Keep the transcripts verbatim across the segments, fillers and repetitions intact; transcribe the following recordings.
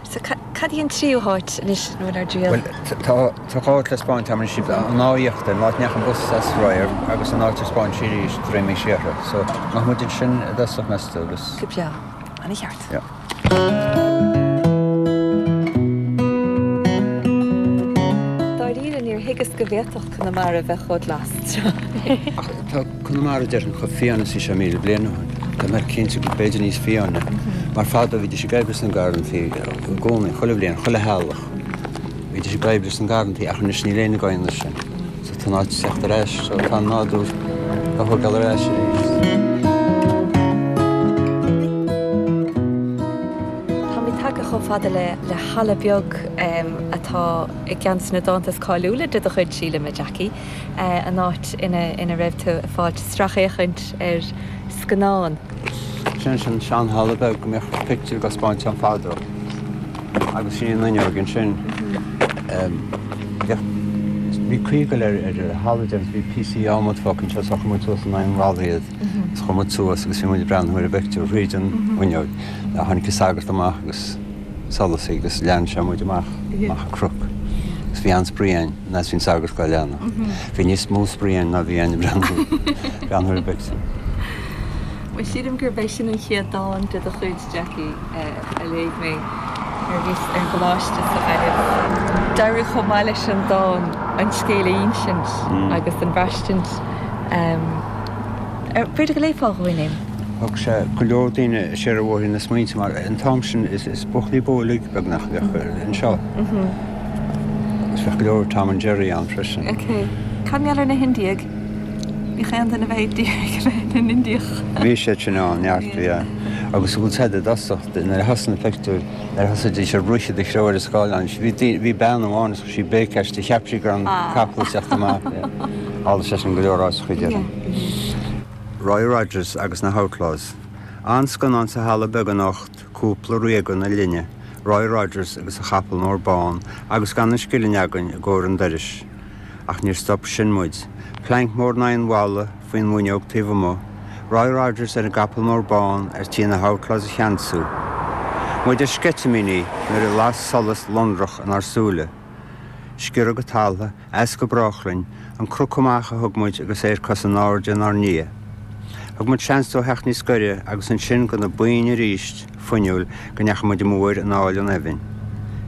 So cad í an tríú háit anois ina bhfuil ár dtriall? Bhuel, tá tá dhá áit le 'spáint agam anois, an áth íochtair, an áit a ndeachaigh an bus as radharc, agus an áit ar 'spáin sí arís, Droim Uí Séartha. So, nach muid ansin i dtosach, meas tú, agus. Go breá. Ana cheart. Yeah. Dáiríre, níor thuigeas go bhféadfadh Conamara bheith chomh glas. Ach tá Conamara déarfainn chomh fiáin is bhí sé míle bliain ó shin. Tá mé cinnte go b'fhéidir níos fiáine. Mar fadó bhídís ag oibriú sna garrantaí i gcónaí, chuile bhliain, chuile theaghlach. Bhídís ag oibriú sna garrantaí ach anois níl éinne ag déanamh sin. So tá an áit ag teacht ar ais, so tá an nádúr á thógáil ar ais arís. Táimid tagtha chomh fada le le halla beag atá i gceann de na dánta is cáiliúla de do chuid, sílim, a Jackie, an áit ina ina raibh tú ag fáilt sracfhéachaint ar scannán. Sin sin seanhalla beag go mbeadh pictiúir á 'spáint ann fadó agus sin an fhuinneog ansin. Bheadh bhí caoi ag dul ar ar an halla déarfainn bhí píosaí adhmaid fágtha anseo so chuir muid suas in aghaidh an bhalla iad agus chuir muid suas agus bhí muid ag breathnú ar an bpictiúr thríd an bhfuinneog. Tháinig an sagart amach agus solas agus lean sé muid amach amach an cnoc agus bhí an-spraoi againn nuair a bhí an sagart dhá leanadh. Bhí níos mó spraoi againn ná bhí againn ag breathnú breathnú ar an bpictiúr. Bhuel, sílim gurb é sin an chéad dán de do chuid, Jackie, a léigh mé nuair a bhíos ar an gcoláiste sa Ghaillimh. D'éirigh chomh maith leis an dán an scéal a insint agus an bhraistint. B'fhéidir go léifeá dhúinn é? Thug sé go leor daoine siar ar bhóithrín na smaointe mar an t-am sin is buachaillí bó uilig beagnach a bheadh anseo. Agus bheadh go leor Tom and Jerry ann freisin. Ok. Cad mar gheall ar na hIndiaigh? Bhíodh aon duine a bheith ag iarraidh a bheith ina nIndiach. Bhí siad sin ann, neart, bhí. Agus an bhfuil said i dtosach, nuair a thosaigh na pictiúir, nuair a thosaídís ag rith i do threo ar an scáileán, bhí bhí bean amháin is chuir sí béic aisti, cheap sí go raibh an capall ag teacht amach. Tharla sé sin go leor áiteacha, déarfainn. Roy Rogers agus na hOutlaws. An-scannán sa halla beag anocht, cúpla ríoga na linne, Roy Rogers agus a chapall mór bán agus gan an scilling againn i gcomhair an dorais. Ach níor stop sin muid. Planc mór in aghaidh an bhalla, faoin bhfuinneog taobh amuigh, Roy Rogers ar an gcapall mór bán ar tí na hOutlaws a cheansú. Muid ar sceitimíní nuair a las solas lonrach inár súile. Sciorradh go talamh, as go brách linn, an cnoc amach a thug muid agus é ar cosa in airde inár ndiaidh. Thug muid seans dó theacht níos gaire agus ansin de na boinn arís, fuinniúil, go ndeachaigh muid amú air in aill an eibhinn.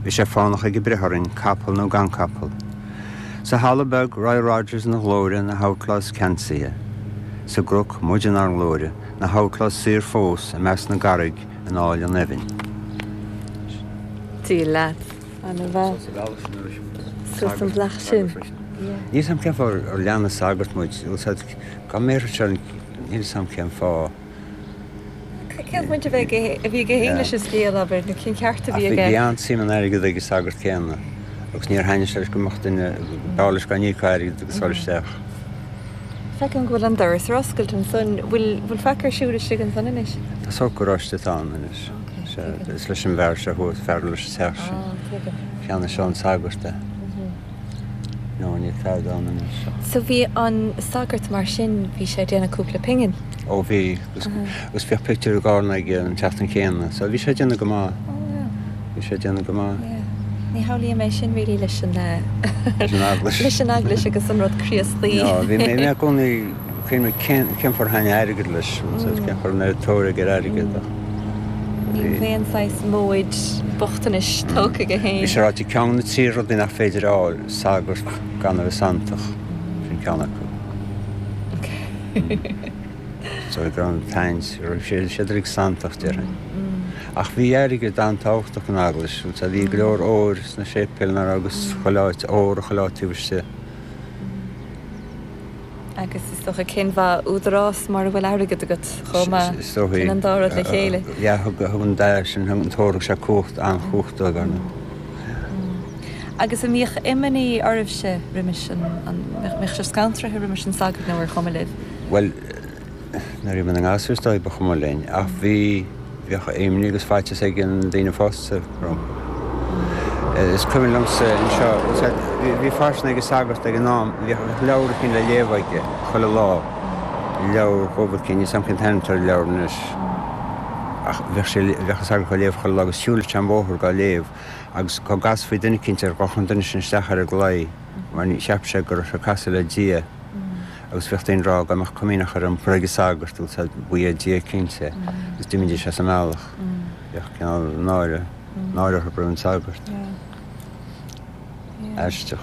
Bhí sé fánach aige breith orainn, capall nó gan capall. Sa halla beag, Roy Rogers ina ghlóire, na hOutlaws ceansaithe. Sa gcnoc, muid inár nglóire, na hOutlaws saor fós i measc na gcarraig in aill an eibhinn. Dia leat. Ana-mhaith. Suas an bealach sin. Níl 'fhios a'm cén fáth ar lean an sagart muid, dá mbéarfadh sé, níl 'fhios a'm cén fáth. Cén bhaint a bheidh a bhí aige féin leis an scéal, abair, nó cén ceart a bhí aige? Bhí an-suim in airgead ag an sagart céanna agus níor thaitnigh sé leis go mbeadh duine, b'fhearr leis gan íoc airgid agus dul isteach. Feicim go bhfuil an doras ar oscailt ansan. Bhfuil bhfuil faic ar siúl istigh ansan anois? Tá sórt garáiste atá ann anois. Sea, is leis an bhfear seo thuas, fear leis an teach sin. Ah, tuigim. Cheannaigh sé ón sagart é. No, níl tada ann anois. So bhí an sagart mar sin, bhí sé ag déanamh cúpla pingin? Ó bhí, agus agus bhíodh pictiúr i gCarna aige an tseachtain chéanna, so bhí sé ag déanamh go maith. Oh yeah. Bhí sé ag déanamh go maith. Yeah. Ní shamhlaím é sin really leis an Leis an eaglais. leis an eaglais agus an rud Críostaí. No, bhí mé i gcónaí cén cén cén fáth ar thaitnigh airgead leis, cén fáth an raibh tóir aige ar airgead ach Ní bhí. aon saghas móid bochtanais tógtha aige féin. Bhí sé ráite ceann de na trí rudaí nach féidir a fháil, sagart gan a bheith santach, sin ceann acu. So go raibh an tsaint, raibh siad siad uilig santach déarfainn. Ach bhí airgead an-tábhachtach don eaglais, bhí go leor óir sna séipéil agus chuile áit, ór chuile áit taobh istigh. Agus is dócha cén mhaith údarás mura bhfuil airgead agat chomh maith, Is dóigh. sin an dá rud le chéile. Yeah, thug thug an dá sin, thug an t-ór, thug sé cumhacht, an-chumhacht dóibh ar ndóigh. Agus an mbíodh imní oraibhse roimis an, an mbeadh sibh scantraithe roimis an sagart nó ar chuma libh? Bhuel, nuair a bhí muid inár ngasúir is dóigh ba chuma linn, ach bhí, bhíodh imní agus faitíos ag na daoine fásta rompu. Is cuimhin liomsa anseo, bhí, bhí faisean ag an sagart ag an am, bhíodh leabhar eicínt le léamh aige chuile lá, leabhar dhubh eicínt, níl 's a'm cén t-ainm atá ar an leabhar anois, Ach bheadh sé, bheadh an sagart dhá léamh chuile lá agus shiúladh sé an bóthar dhá léamh agus dhá gcasfaí duine eicínt air ghabhadh an duine sin isteach ar an gclaí mar ní, cheap sé go raibh sé ag casadh le Dia agus bheadh daoine ag rá dhá mbeadh Coimíneach ar iompar ag an sagart bhfuil 's a'd ba é Dia cinnte agus d'imídís as an mbealach. Bheadh cineál náire, náire orthu roimh an sagart. Aisteach.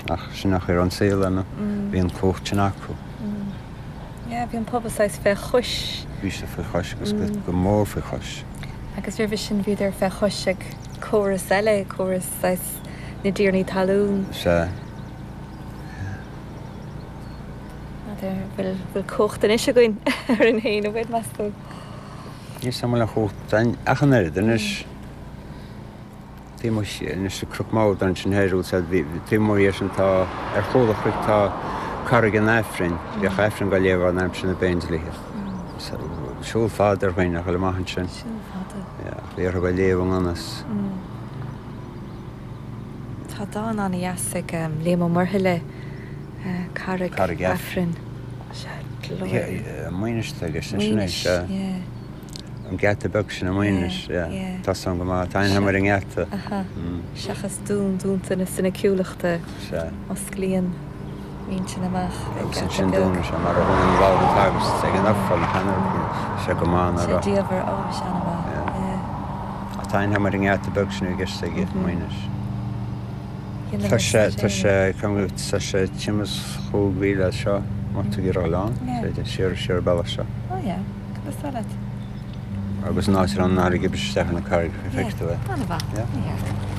Ach sin an chaoi a raibh an saol ann, bhí an chumhacht sin acu. Yeah, bhí an pobal saghas fé chois. Bhí sé faoi chois agus go mór faoi chois. Agus roimhe sin bhíodar fé chois ag córas eile, córas saghas na dtiarnaí talún. Sea. N'fheadar, bhfuil, bhfuil cumhacht anois againn orainn féin, an bhfuil, meas tú? Níl 's a'm an bhfuil aon chumhacht againn ach an oiread anois. Taobh amuigh anois de Chnoc Mauda ansin thoir bhfuil 's a'd bhí taobh amuigh dhe sin tá ar chúl an chnoic tá Carraig an Aifrinn bhíodh Aifreann dhá léamh ann aimsir na bPéindlíthe. Siúl fada ar dhaoine a dhul amach ansin. Siúl fada. Yeah, ach bhí orthu a léamh i ngan fhios. Tá dán an-dheas ag Liam Ó Muirthile, Carraig Aifrinn. Sea, glór. Maínis atá i gceist ansin, Maínis, yeah. An geata beag sin i Maínis, yeah. Tá san go maith. Tá aithne agam ar an ngeata. Aha. Seachas dún dúnta na soiniciúlachta. Sea. Osclaíonn m'intinn amach ag Agus geata ansin beag. dúnann sé mar a dhúnann lamh an tsagairt ag an ofráil nach ea nuair sé go maith ná Sé raibh. diamhair, ó, sé ana-mhaith, yeah. Ach tá aithne agam ar an ngeata beag sin i gceist aige, Maínis. Tá sé, tá sé, tá sé timpeall is chúig mhíle as seo, má tá tú ag iarraidh a dhul ann, siar, siar an bealach seo. Ó yeah, cad is dóigh leat? Agus an áit a raibh an fharraige ag briseadh isteach ar na carraigeacha, feicfidh tú é. An-mhaith, Yeah. an-cheart.